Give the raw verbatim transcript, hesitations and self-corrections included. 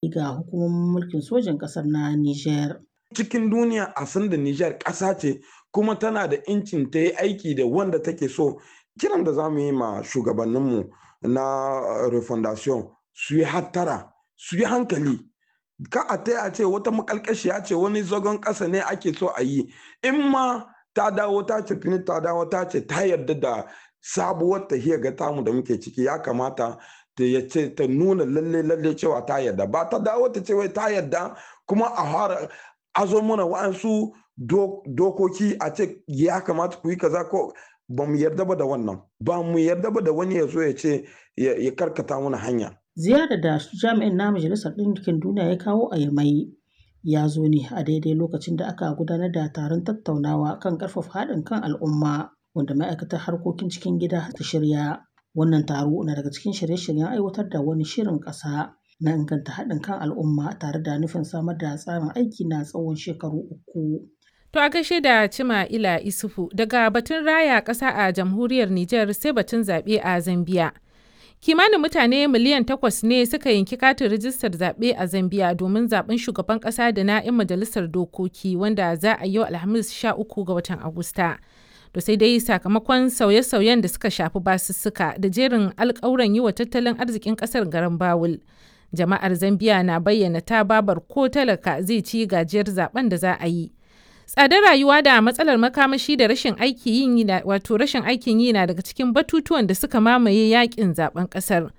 ga hukumomin mulkin sojin ƙasar na Nijar. Cikin duniya a san da Nijar ƙasa ce kuma tana da incin ta yi aiki da wanda take so. Kiran da za mu yi ma shugabanninmu na refondation, su yi hattara, su yi hankali. Ka a ta a ce wata makalkashiya ce, wani zagon ƙasa ne ake so a yi. In ma ta dawo ta ce fini, ta dawo ta ce ta yarda da sabuwar tahiyar ga tamu da muke ciki, ya kamata ta ya ce ta nuna lalle lalle cewa ta yarda. Ba ta dawo ta ce wai ta yarda kuma a fara azo mana wa'ansu dokoki a ce ya kamata ku yi kaza, ko ba mu yarda ba da wannan. Ba mu yarda ba da wani ya zo ya ce ya karkata mana hanya. Ziyarar da jami'in na Majalisar Ɗinkin Duniya ya kawo a Yamai ya zo ne a daidai lokacin da aka gudanar da taron tattaunawa kan ƙarfafa haɗin kan al'umma wanda ma'aikatar harkokin cikin gida ta shirya. Wannan taro na daga cikin shirye-shiryen aiwatar da wani shirin ƙasa na inganta haɗin kan al'umma tare da nufin samar da tsarin aiki na tsawon shekaru uku. To a gaishe da Cima Ila Isufu. Daga batun raya ƙasa a jamhuriyar Nijar sai batun zaɓe a Zambiya. Kimanin mutane miliyan takwas ne suka yanki katin rijistar zaɓe a Zambiya domin zaɓen shugaban ƙasa da na 'yan majalisar dokoki wanda za a yi yau Alhamis sha uku ga watan Agusta. To sai dai sakamakon sauye-sauyen da suka shafi basussuka da jerin alƙawuran yi wa tattalin arzikin ƙasar garan bawul. Jama'ar Zambiya na bayyana ta babar ko talaka zai ci gajiyar zaben da za a yi. Tsadar rayuwa da matsalar makamashi da rashin aiki yin wato rashin aikin yi na daga cikin batutuwan da suka mamaye yakin zaben kasar.